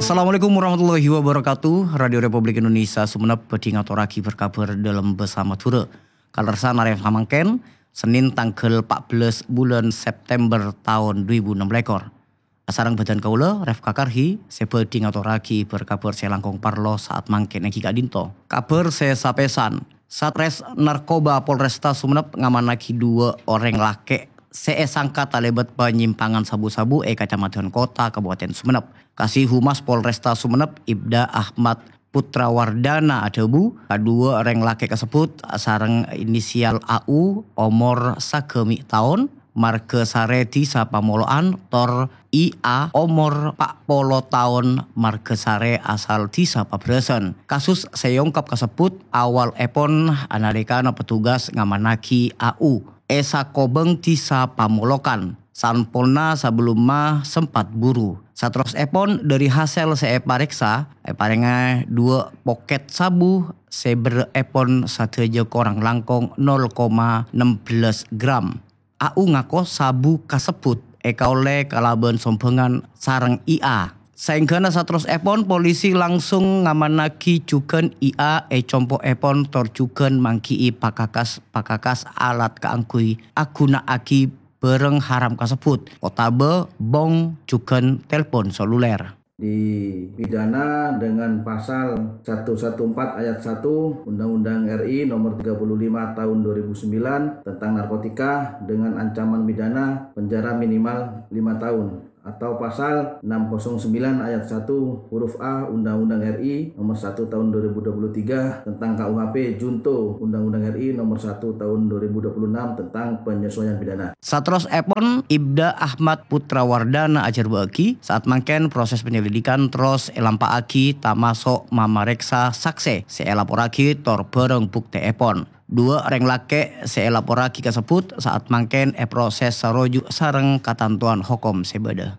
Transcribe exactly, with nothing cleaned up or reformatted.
Assalamualaikum warahmatullahi wabarakatuh. Radio Republik Indonesia Sumenep bhâdhi ngatorraghi bâr-kabhâr dâlem bhâsa Madhurâ. Kalerressan arè samangkèn, Sennèn tangghâl empat belas bulân September taon dua ribu enam belas. Asareng bhâdhân kaulâ, Refka Karhi, sè bhâdhi ngatorraghi bâr-kabhâr sè langkong parlo saat mangkèn èngghi ka'dinto. Kabhâr sè sapèsan, Satres Narkoba Polresta Sumenep ngamannaghi duwâ' orèng lakè' sè èsangka talèbât panyimpangan sabu-sabu è Kacammadhân Kota, Kabupaten Sumenep. Kasih Humas Polresta Sumenep, Ibda Ahmad Putra Wardana adhâbu, kaduwâ orèng lakè' kasebbhut sareng inisial A U, omor sagâmè' taon, marghâ sarè Dhisa Pamolo'an, tor I A, omor empat puluh taon, marghâ sarè asal Dhisa Paberasan. Kasus sè èongkap kasebbhut awalèpon analèkana petugas ngamannaghi A U è sakobhâng Dhisa Pamolokan. Samponna sabellumma sempat buru. Saterrossèpon, dhâri hasèl sè èparèksa, èparèngè duwâ' pokèt sabu sè berrâ'èpon sadhâjâ korang langkong nol koma enam belas gram. A U ngako sabu kasebbhut èkaollè kalabân sombhângan sareng I A. Saèngghâna saterrossèpon, polisi langsung ngamannaghi jhughân I A è compo'èpon tor jhughân mangghi'i pakakas-pakakas alat kaangghuy aghuna'aghi bhârâng haram kasebbhut, otabâ bong jhughân telpon seluler. Dipidana dengan pasal satu satu empat ayat satu Undang-Undang R I nomor tiga puluh lima tahun dua ribu sembilan tentang narkotika dengan ancaman pidana penjara minimal lima tahun, atau pasal enam kosong sembilan ayat satu huruf A Undang-Undang R I nomor satu tahun dua ribu dua puluh tiga tentang K U H P junto Undang-Undang R I nomor satu tahun dua ribu dua puluh enam tentang penyesuaian pidana. Saterrossèpon, Ibda Ahmad Putra Wardana ajhârbâ'âghi, saat mangkèn proses penyelidikan terros èlampa'aghi, tamaso' mamarèksa saksè sè èlaporraghi tor bhârâng buktèèpon. Duwâ' orèng lakè' sè èlaporraghi kasebbhut saat mangkèn èproses saroju' sareng katantowan hokom sè bâdâ.